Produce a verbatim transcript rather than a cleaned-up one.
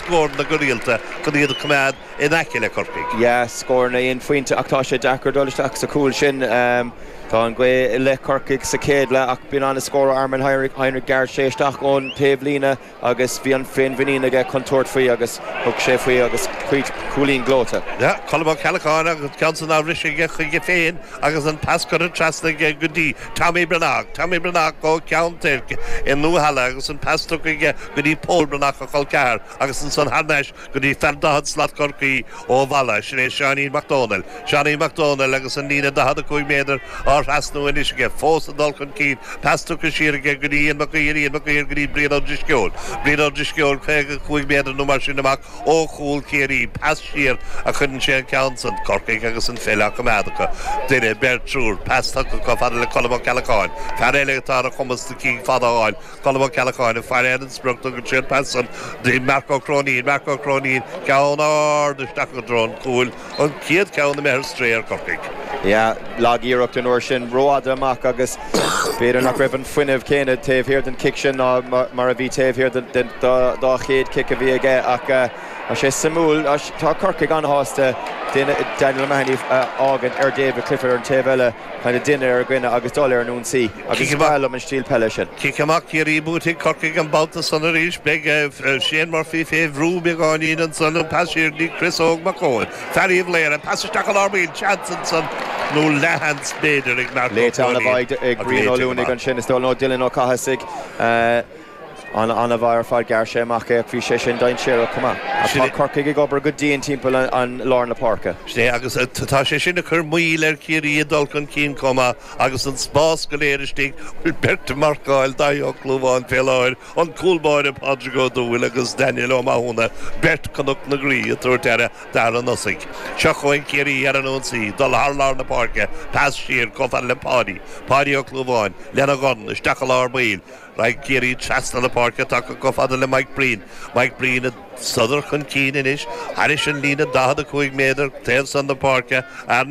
scóranna go rialta chun iad a choimeád in aice le Corcaigh. Ja, scóranna aon phointe ach tá sé deacair dul isteach sa chúl sin. Um, Tá an ghaoth i leith Corcaigh sa chéad leath ach b'in an-scór Armin Heinrich Heinrich ghearr sé isteach ón taobhlíne agus bhí an féinmhuinín aige chun tabhairt faoi agus thug sé faoi agus chuid cúilín gleoite. Ja, Colm Ó Ceallacháin agus ceann san ris aige chuige féin agus an pas curtha trasna aige go dtí Tommy Breathnach, Tommy Breathnach ó Cheann Toirc i nDúhalla agus an pas chuige go dtí Paul Breathnach a chol ceathar agus ansan thar n-ais go dtí fear daichead slat Chorcaí ó Mhala sin é Seáinín Mac Dónaill. Seáinín Mac Dónaill agus an líne daichead a cúig méadar á thrasnú anois aige fós ag dul chun cinn pas tugtha siar aige go dtí an Mac Mac go dtí Brian Ó Drisceoil. Brian Ó Drisceoil caoga cúig méadar nó mar sin amach ó chúl Chiarraí pas siar a chuireann sé an ceann san Corcaigh agus an pheil á coimeád acu. Duine beirt triúr pas tugtha chomh fada le Colm Ó Ceallacháin. Fear eile atá ar a chumas na cinn fada a fháil Colm Ó Ceallacháin fear an sprioc tugann sé pas san dtí Marco Cronín Marco Cronín ceann ard isteach go dtí an cúl an chéad ceann imithe ar strae ar Corcaigh. Ja, lagiarracht an uair sin rófhada amach agus b'fhéidir nach raibh an fuinneamh céanna taobh thiar den cic sin ná mar a bhí taobh thiar den dá chéad cic a bhí aige ach uh, sé suimiúil tá Corcaigh an-shásta Daniel O'Mahony fhágaint ar David Clifford ar an taobh eile kind of duine ar dhuine agus dul ar an ionsaí agus breá liom an stíl peile sin. Cic amach Ciarraí buaite ag Corcaigh an babhta san arís beidh Shane Murphy fé bhrú beagáinín ansan an pas siar dtí Chris Óg Mac Eoin. Fear léir an pas isteach an armíl Chanson san nó lehands b'fhéidir ag mar Léite an-mhaith ag Brian Ó Luaigh ansin is dul nó Dylan Ó Cathasaigh. an an-mhaith ar fad ghearr sé amach é bhí sé sin dainséarach chomh maith. Tá Corcaigh ag obair go dian timpeall an lár na páirce. Sé agus tá sé sin ag cur moill ar Chiarraí ag dul chun cinn chomh maith agus an spás go léir istigh bhfuil beirt marcáil Daithí Ó Clúmháin fé láthair an cúl báire Pádraig Ó Dúill agus Daniel Ó Mathúna beirt Chnoc na Graí ag tabhairt aire d'fhear an tosaigh. Seo chugainn Ciarraí ar an ionsaí, dul thar lár na páirce, pas siar chomh fada le Páidí, Páidí Ó Clúmháin, lena dhorn isteach i lár baill. Raghaidh Ciarraí trasna na páirce tagtha chomh fada le Mike Breen. Mike Breen ag sodar chun cinn anois, thairis an líne daichead a cúig méadar taobh san na páirce ar